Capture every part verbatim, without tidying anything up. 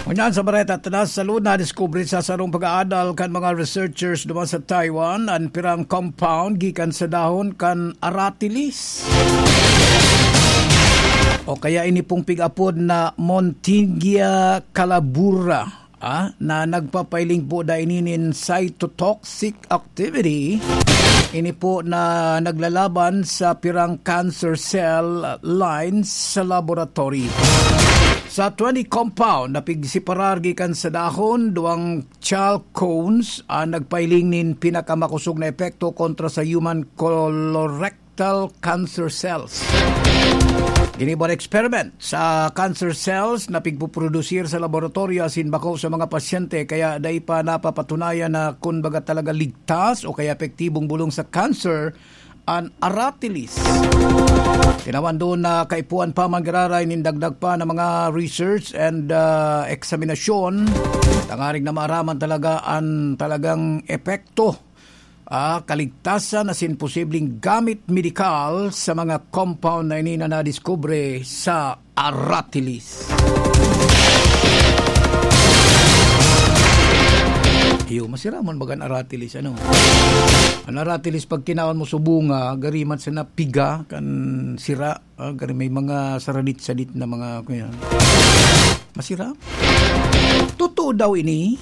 Ngunyan sa bareta, tadas sa luna, diskubre sa sarong pag-aadal kan mga researchers duman sa Taiwan an pirang compound gikan sa dahon kan aratilis. O kaya ini pong pig-apod na Montingia calabura, ah, na nagpapailing po da ini nin cytotoxic activity. Ini po na naglalaban sa pirang cancer cell lines sa laboratory. Sa twenty compound na pigsiparar gikan sa dahon, duwang chalcones ang nagpailing nin pinakamakosog na epekto kontra sa human colorectal cancer cells. Ginibo an experiment sa cancer cells na pigpuprodusir sa laboratorio asin bako sa mga pasyente, kaya dai pa napapatunayan na kun baga talaga ligtas o kaya epektibong bolong sa cancer an aratilis. Tinawan doon na kaipuhan pa man giraray nin dagdag pa na mga research and, ah, eksaminasyon tangarig na maaraman talaga an talagang epekto, ah, kaligtasan asin posibleng gamit medikal sa mga compound na ini na nadiskubre sa aratilis. Iyo, masira man baga an aratilis, ano? An aratilis, pag kinaon mo subunga, gari man sana piga kan sira, ah, gari may mga saradit-sadit na mga, kuya. Masira? Totoo daw ini?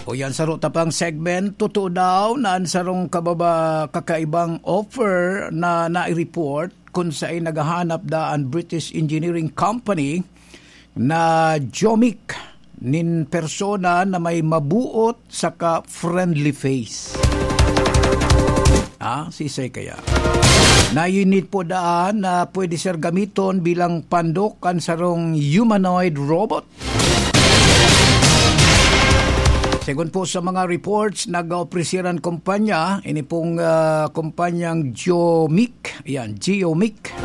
O yan, saro ta pang segment, totoo daw na an sarong kababa, kakaibang offer na nai-report kun saen naghahanap da an British engineering company na Jomic nin persona na may mabuot saka friendly face. Ah, sisay kaya? Na unit po daan na pwede sir gamiton bilang pandok kan sarong humanoid robot. Segun po sa mga reports, nag-opreser an kumpanya, ini pong, ah, kumpanyang Geomic, yan, Geomic.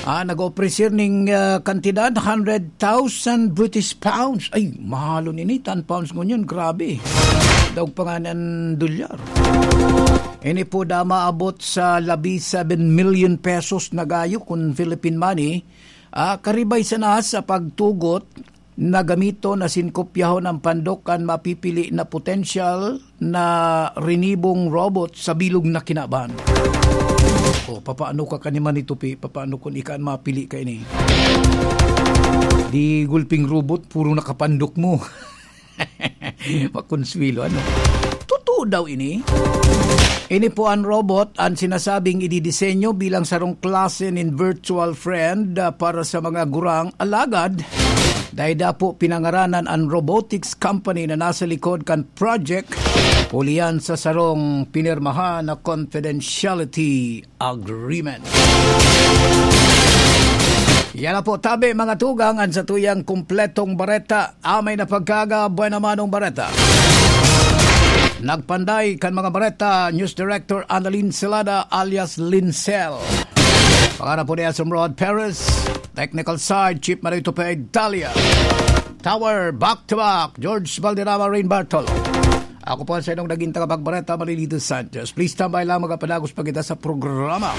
Ah, nag-opreser ning, ah, kantidad, hundred thousand British pounds. Ay, mahalon ini, ten pounds ngunyan, grabe. Daog pa nga ng dolyar. Ini po da maabot sa labi seven million pesos na gayo kun Philippine money. Ah, karibay sana sa pagtugot na gamiton asin kopyahon an pandok kan mapipili na potensyal na rinibong robot sa bilog na kinaban. O, papaano ka kanima ni Tupi? Papaano kun ika an mapili ka ini? Di gulping robot, puro nakapandok mo. Makonsuelo, ano? Totoo daw ini? Ini po an robot, an sinasabing ididisenyo bilang sarong klase nin virtual friend, ah, para sa mga gurang. Alagad, dai da po pinangaranan an robotics company na nasa likod kan project, huli yan sa sarong pinirmahan na confidentiality agreement. Yan na po, tabi, mga tugang, an satuyang kumpletong bareta. Amay na pagkaga, buena manong bareta. Nagpanday kan mga bareta, News Director Annalyn Celada alias Lincel. Pangaran po ni Esomrod Perez, technical side, Chief Marito Pe Italia. Tower, back to back, George Valderrama, Rain Bartolo. Ako po ang sa inyong naging tagapagbareta, Marilito Sanchez. Please tambay lang, magapadagos pa kita sa programa.